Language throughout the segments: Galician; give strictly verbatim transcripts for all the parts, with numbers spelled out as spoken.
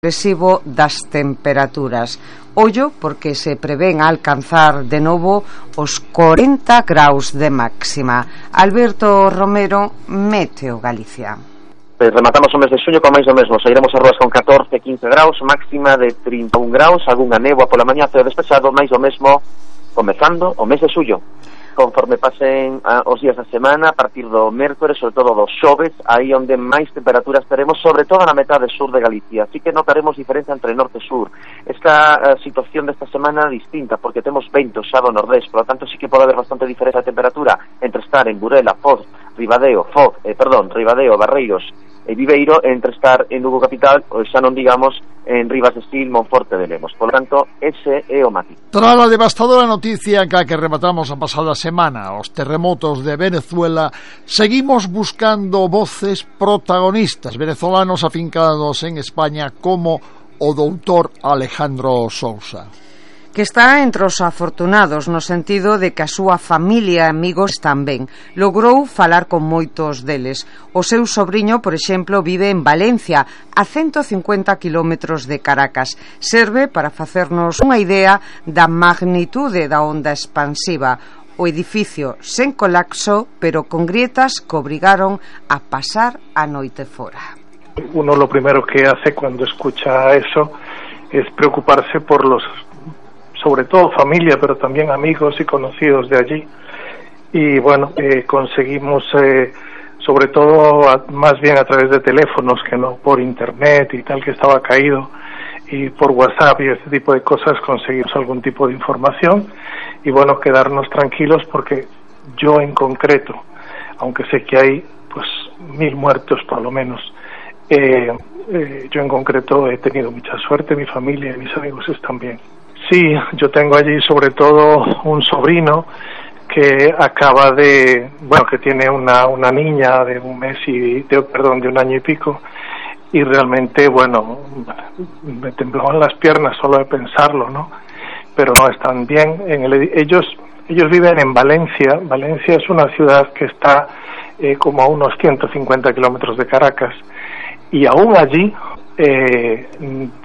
progresivo das temperaturas. Ollo porque se prevén alcanzar de novo os corenta graus de máxima. Alberto Romero, Meteo Galicia. Rematamos o mes de xuño con máis do mesmo. Sairemos as rúas con catorce, quince graus, máxima de trinta e un graus, algunha néboa pola mañá, ceo despexado, máis do mesmo comezando o mes de xullo. Conforme pasen a, os días da semana, a partir do mércores, sobre todo dos xoves, aí onde máis temperaturas teremos, sobre todo na metade sur de Galicia. Así que notaremos diferencia entre norte e sur. Esta a, situación desta semana é distinta, porque temos vento xa do nordés, por lo tanto sí que pode haber bastante diferencia de temperatura entre estar en Burela, Foz, Ribadeo, Foz, eh, perdón, Ribadeo, Barreiros e Viveiro, entre estar en Lugo capital, ou xa non digamos en Rivas de Sil, Monforte de Lemos. Por lo tanto, ese é o matiz. Tras a devastadora noticia que, que rematamos a pasada semana, os terremotos de Venezuela, seguimos buscando voces protagonistas venezolanos afincados en España como o doutor Alejandro Sousa, que está entre os afortunados no sentido de que a súa familia e amigos tamén. Logrou falar con moitos deles. O seu sobriño, por exemplo, vive en Valencia, a ciento cincuenta kilómetros de Caracas. Serve para facernos unha idea da magnitude da onda expansiva. O edificio sen colapso, pero con grietas que obrigaron a pasar a noite fora. Uno lo primero que hace cuando escucha eso es preocuparse por los, sobre todo familia, pero también amigos y conocidos de allí. Y bueno, eh, conseguimos, eh, sobre todo, a, más bien a través de teléfonos que no por internet y tal, que estaba caído, y por WhatsApp y este tipo de cosas, conseguimos algún tipo de información. Y bueno, quedarnos tranquilos porque yo en concreto, aunque sé que hay pues mil muertos por lo menos, eh, eh, yo en concreto he tenido mucha suerte, mi familia y mis amigos están bien. Sí, yo tengo allí sobre todo un sobrino que acaba de, bueno, que tiene una una niña de un mes y, de, perdón, de un año y pico, y realmente, bueno, me temblaban las piernas solo de pensarlo, ¿no? Pero no están bien. En el, ellos ellos viven en Valencia. Valencia es una ciudad que está eh, como a unos ciento cincuenta kilómetros de Caracas, y aún allí Eh,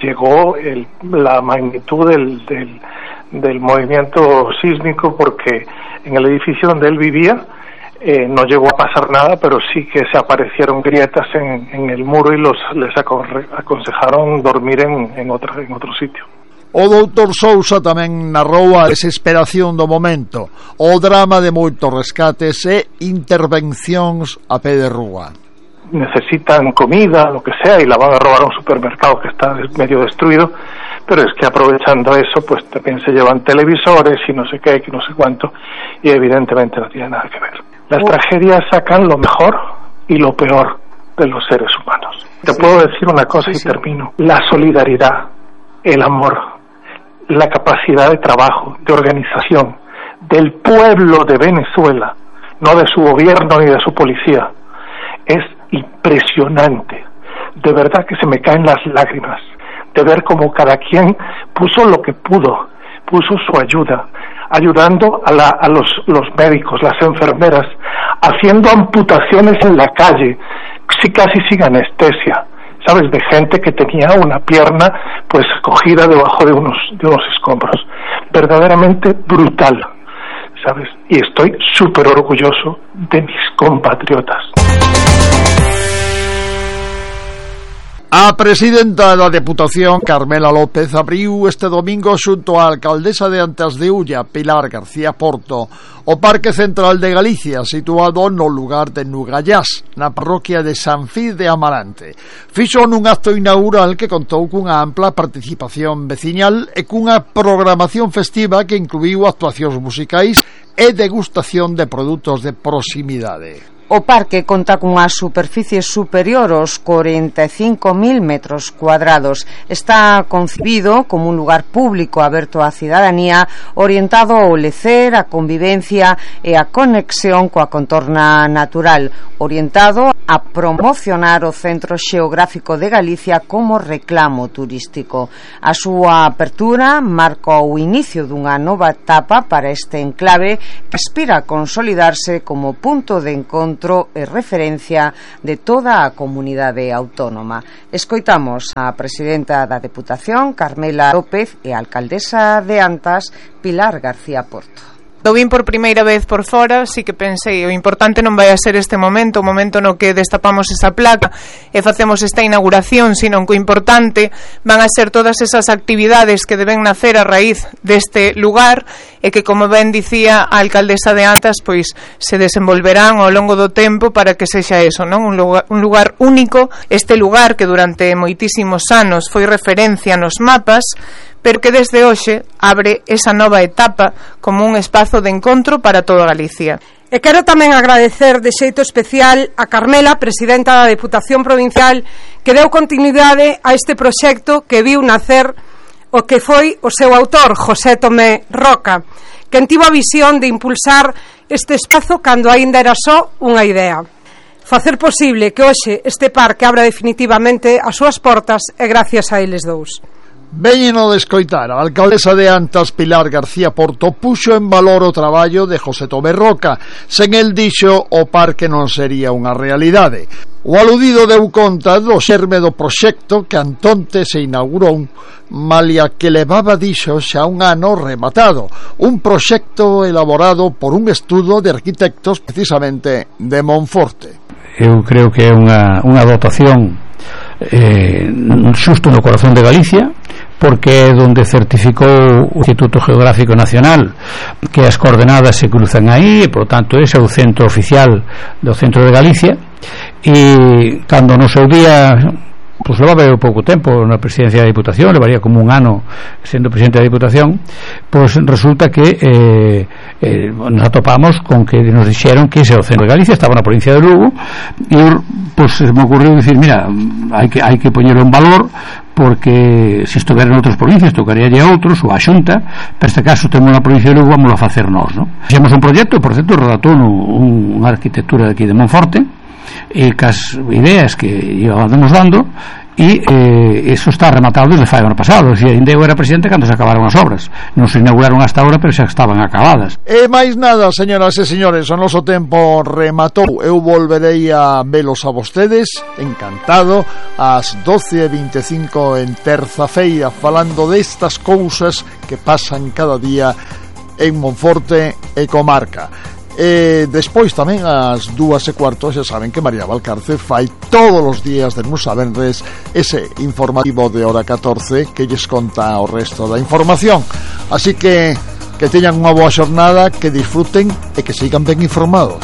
llegó el, la magnitud del, del, del movimiento sísmico, porque en el edificio donde él vivía eh, no llegó a pasar nada, pero sí que se aparecieron grietas en, en el muro y los les aconsejaron dormir en, en, otro, en otro sitio. O doutor Sousa tamén narrou a desesperación do momento, o drama de moitos rescates e intervencións a pé de rúa. Necesitan comida, lo que sea, y la van a robar a un supermercado que está medio destruido, pero es que aprovechando eso, pues también se llevan televisores y no sé qué, y no sé cuánto, y evidentemente no tiene nada que ver. Las oh. tragedias sacan lo mejor y lo peor de los seres humanos. Te sí. puedo decir una cosa sí, y sí. termino. La solidaridad, el amor, la capacidad de trabajo, de organización del pueblo de Venezuela, no de su gobierno ni de su policía, es impresionante. De verdad que se me caen las lágrimas de ver cómo cada quien puso lo que pudo, puso su ayuda, ayudando a, la, a los, los médicos, las enfermeras, haciendo amputaciones en la calle, sí, casi sin anestesia, ¿sabes? De gente que tenía una pierna pues cogida debajo de unos, de unos escombros. Verdaderamente brutal, ¿sabes? Y estoy súper orgulloso de mis compatriotas. A presidenta da Deputación, Carmela López, abriu este domingo xunto á alcaldesa de Antas de Ulla, Pilar García Porto, o Parque Central de Galicia, situado no lugar de Nugallás, na parroquia de San Fid de Amarante. Fixo nun acto inaugural que contou cunha ampla participación veciñal e cunha programación festiva que incluíu actuacións musicais e degustación de produtos de proximidade. O parque conta cunha superficie superior aos corenta e cinco mil metros cuadrados. Está concebido como un lugar público aberto á cidadanía, orientado ao lecer, a convivencia e a conexión coa contorna natural, orientado a promocionar o Centro Xeográfico de Galicia como reclamo turístico. A súa apertura marca o inicio dunha nova etapa para este enclave que aspira a consolidarse como punto de encontro encontro e referencia de toda a comunidade autónoma. Escoitamos a presidenta da Deputación, Carmela López, e a alcaldesa de Antas, Pilar García Porto. Do vin por primeira vez por fora, sí que pensei, o importante non vai a ser este momento, o momento no que destapamos esa placa e facemos esta inauguración, sino que o importante van a ser todas esas actividades que deben nacer a raíz deste lugar e que, como ben dicía a alcaldesa de Antas, pois se desenvolverán ao longo do tempo para que sexa eso, non? Un lugar, un lugar único, este lugar que durante moitísimos anos foi referencia nos mapas, pero que desde hoxe abre esa nova etapa como un espazo de encontro para toda Galicia. E quero tamén agradecer de xeito especial a Carmela, presidenta da Deputación Provincial, que deu continuidade a este proxecto que viu nacer o que foi o seu autor, José Tomé Roca, quen tivo a visión de impulsar este espazo cando aínda era só unha idea. Facer posible que hoxe este parque abra definitivamente as súas portas e gracias a eles dous. Veñeno de escoitar, a alcaldesa de Antas, Pilar García Porto, puxo en valor o traballo de José Tomé Roca. Sen el dixo, o parque non sería unha realidade. O aludido deu conta do xerme do proxecto que antonte se inaugurou, malia que levaba dixo xa un ano rematado. Un proxecto elaborado por un estudo de arquitectos precisamente de Monforte. Eu creo que é unha, unha dotación eh, xusto no corazón de Galicia, porque é donde certificou o Instituto Geográfico Nacional que as coordenadas se cruzan aí e, por tanto, ese é o centro oficial do centro de Galicia. E cando no seu día, pois levaba pouco tempo na presidencia da Diputación, levaría como un ano sendo presidente da Diputación, pois resulta que eh, eh, nos atopamos con que nos dixeron que ese é o centro de Galicia, estaba na provincia de Lugo, e pois me ocurriu dicir, mira, hai que, hai que poñerlo en valor, porque se estuvera en outras provincias tocaría a outros ou a Xunta, pero este caso temos na provincia de Lugo, vamos a facer nós, non? Fixemos un proxecto, por certo, redactou un, unha arquitectura de aquí de Monforte, e cas ideas que íbamos dando, e eh, eso está rematado desde fai ano pasado. O sea, ainda eu era presidente cando se acabaron as obras, non se inauguraron hasta agora, pero xa estaban acabadas. E máis nada, señoras e señores, o noso tempo rematou. Eu volverei a velos a vostedes, encantado, ás doce e vinte e cinco en terza feira, falando destas cousas que pasan cada día en Monforte e comarca. E despois tamén ás dúas e cuarto, xa saben que María Valcarce fai todos os días de luns a venres ese informativo de hora catorce que lles conta o resto da información. Así que que teñan unha boa xornada, que disfruten e que sigan ben informados.